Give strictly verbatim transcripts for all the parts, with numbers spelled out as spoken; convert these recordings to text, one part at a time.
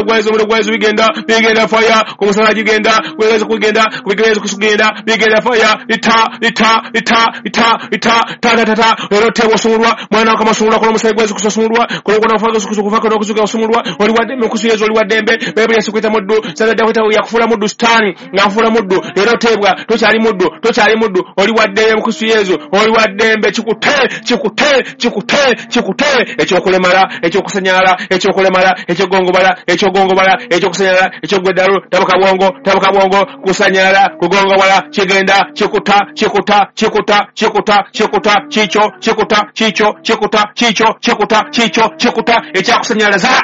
Gwazo omuliro gwa Yesu bigenda bigenda fire ku musala gigenda gwezo kugenda kubigezo kusugenda bigenda fire ita ita ita ita ita ta ta ta ta lero tebo sumulwa mwana wa kamasumulwa kono musayi gwezo kusumulwa kono kono faga kusukufa kono kusuka kusumulwa oli wadembe kusuyezo oli wadembe Bayibuli yasikwita muddu sadda kwita yakufula muddu sitani ngafula muddu lero tebwa tokyali muddu tokyali muddu oli wadembe kusuyezo oli wadembe kikute kikute kikute kikute ekyokulemala ekyokusanyala ekyokulemala ekyogongobala ekyogongobala ekyokusanyala ekyogweddalu tabuka bwongo tabuka bwongo kusanyala kugongobala kigenda kikuta kikuta kikuta kikuta kikuta kikyo kikuta kikyo kikuta kikyo kikuta kikyo kikuta ekyakusanyalaza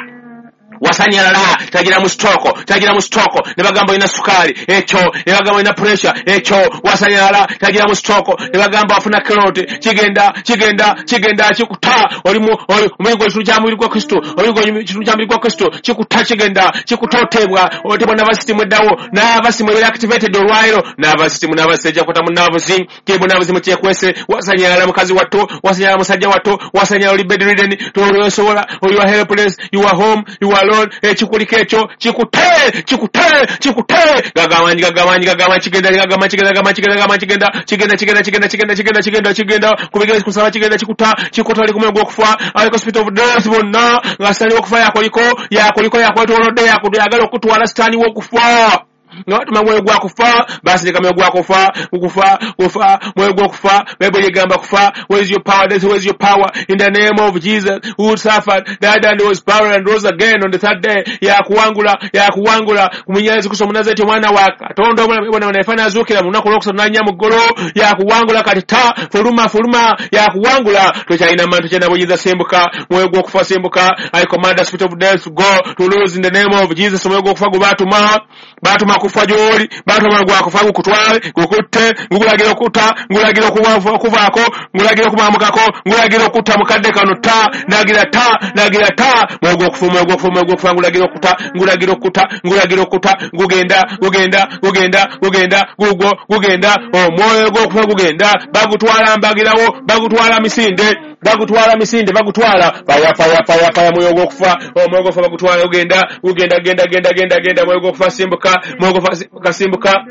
wasanyalala tagira mu stoko tagira mu stoko ne bagamba ina sukali ekyo ne bagamba ina pressure ekyo wasanyalala tagira mu stoko ne bagamba afuna clot kigenda kigenda kigenda kikuta oli mu omuyigo ekitundu kya mubiri gwa Kristo omuyigo ekitundu kya mubiri gwa Kristo kikuta kigenda kikutotebwa otebwa nervous system eddawo nervous system ebeera activated olwaliro nervous system nervous ejja kukwata mu nerves kebo nerves mu kyekwese wasanyalala mukazi wattu wasanyalala musajja wattu wasanyalala oli bedridden tolyosobola you are helpless you are home you are alone ekikuliko ekyo kikute kikute kikute gagamanyi gagamanyi gagamanyi kigenda gagamanyi kigenda gagamanyi kigenda gagamanyi kigenda kigenda kigenda kigenda kigenda kigenda kigenda kigenda kubigeza kusaba kigenda kikuta kikuta ali kumwe gwokufa aliko spirit of death bonna nga sitani wokufa yakoliko yakoliko yakwetolodde yakuyagala okutwala sitani wokufa nga batuma mwoyo gwa kufa basi leka mwoyo gwa kufa kufa kufa mwoyo gwa kufa Bayibuli egamba kufa. Where is your power death? Where is your power? In the name of Jesus who suffered, died and was buried and rose again on the third day. Yakuwangula yakuwangula kumenya Yesu Kristo Omunazareti omwana wa Katonda omwana naye azuukira mu lunaku olwokusatu n'annya mu ggulu. Yakuwangula kati ta fuluma fuluma yakuwangula tokyalina maanyi tokyalina buyinza simbuka mwoyo gw'okufa simbuka. I command the spirit of death to go to lose in the name of Jesus. Omwoyo gw'okufa gwe baatuma baatuma kufa gy'oli baatuma gwa kufa gukutwale gukutte ngulagira okutta ngulagira okuvaako ngulagira okumamukako ngulagira okutta mukadde kano ta nagira ta nagira ta mwoyo gw'okufa omwoyo gw'okufa omwoyo gw'okufa ngulagira okutta ngulagira okutta ngulagira okutta gugenda gugenda gugenda gugenda gugwo gugenda omwoyo gw'okufa gugenda bagutwala mbagirawo bagutwala misinde bagutwala misinde bagutwala faya faya faya faya mwoyo gw'okufa omwoyo gw'okufa bagutwala gugenda gugenda genda genda genda genda mwoyo gw'okufa simbuka mwoyo gw'okufa simbuka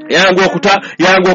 yangu okuta yangu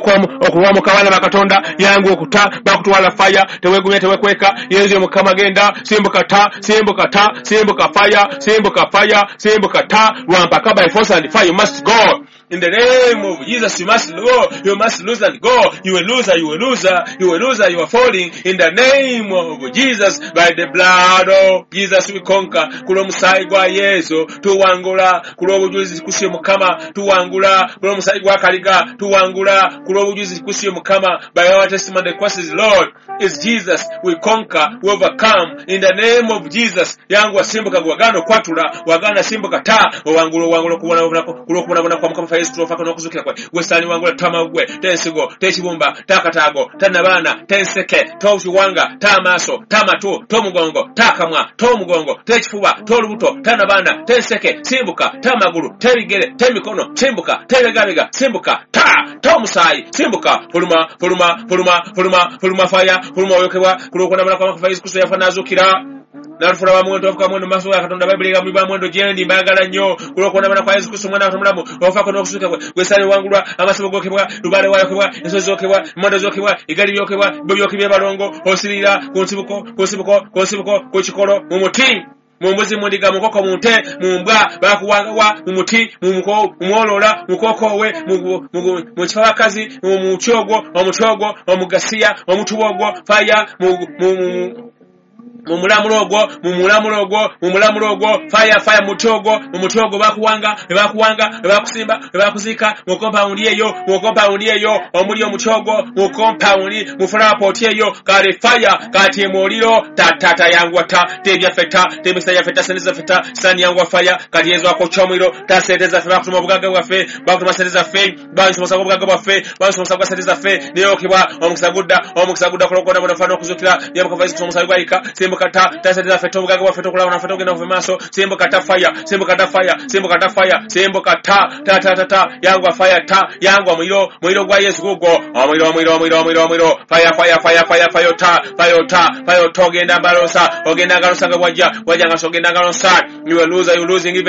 okuwamuka abaana ba Katonda yangu okuta bakutwala fire tewegumya tewekweka Yesu Mukama genda simbuka ta simbuka ta simbuka fire simbuka fire simbuka ta lwampaka by force and fire you must go. In the name of Jesus, you must go. You must lose and go. You will lose, you will lose, you will lose, you are falling. In the name of Jesus, by the blood of Jesus we conquer. Kulo musayi gwa Yesu tuwangula, kulo obujulizi kusiyo Mukama tuwangula, kulo musayi gwa Kaliga tuwangula, kulo obujulizi kusiyo Mukama. By our testimony the cross is Lord is Jesus. We conquer, we overcome. In the name of Jesus. Yangu wasimbuka gwagano kwatula, wagana simbuka ta, owangula owangula kubona kulo kubona kwa Mukama Yesu Kristo n'okuzukira kwe gwe wangula tamagwe tensigo tekibumba takataago tanabaana tenseke tokiwanga tamaaso tamatu tomugongo takamwa tomugongo tekifuba tolubuto tanabaana tenseke simbuka tamagulu tebigere temikono simbuka tebegabega simbuka ta tomusaayi simbuka fuluma fuluma fuluma fuluma fuluma faya fuluma oyokebwa kulw'okunamala kwa Mukama Yesu Kristo yafa n'azuukira nalufula bamuwendo ofuka mwendo maaso ga Katonda. Bayibuli egamba bamuwendo gyendi mbaagala nnyo kulw'okuonamala kwa Yesu Kristo omwana wa Katonda omulamu okufaako n'okuzuuka kwe gwe sitaani wangulwa amasabo gookebwa lubaale wayokebwa ensozi zookebwa emmondo zookebwa eggali lyokebwa byo byokebwa ebalongo osirira ku nsibuko ku nsibuko ku nsibuko ku kikolo mu muti mu mbuzi mu ndiga mu nkoko mu nte mu mbwa bakuwangawa mu muti mu mwolola mu kokoowe mu kifabakazi mu muti ogwo omuti ogwo omugasiya omutuba ogwo faya mu mumulamulo ogwo mumulamulo ogwo mumulamulo ogwo fire fire muti ogwo mu muti ogwo bakuwanga ne bakuwanga ne bakusimba ne bakuziika mu compound eyo mu compound eyo omuli omuti ogwo mu compound mu flower pot eyo kale fire kati muliro tatata yangwa ta tebyaffe ta temisa yaffe ta sente zaffe ta sani yangwa fire kati Yesu akokya omuliro ta sente zaffe bakutuma obugagga bwaffe bakutuma sente zaffe bansomesa obugagga bwaffe bansomesa bwa sente zaffe neyokebwa omukisa gudda omukisa gudda kulokona bona fana okuzukira Mukama Yesu Kristo omusaayi gwayika. Simbuka ta, ta sente zaffe, obugagga bwaffe, tokulaba naffe, togenda kuva maaso. Simbuka ta fire, simbuka ta fire, simbuka ta fire, simbuka ta ta ta ta ta, yangwa fire ta, yangwa muliro, muliro gwa Yesu gugwo, omuliro, omuliro, omuliro, omuliro, omuliro, fire, fire, fire, fire, fire ta, fire ta, fire ta, ogenda mbalosa, ogenda ngalosa nga bwajja, bwajja nga ogenda ngalosa. You are loser, you losing even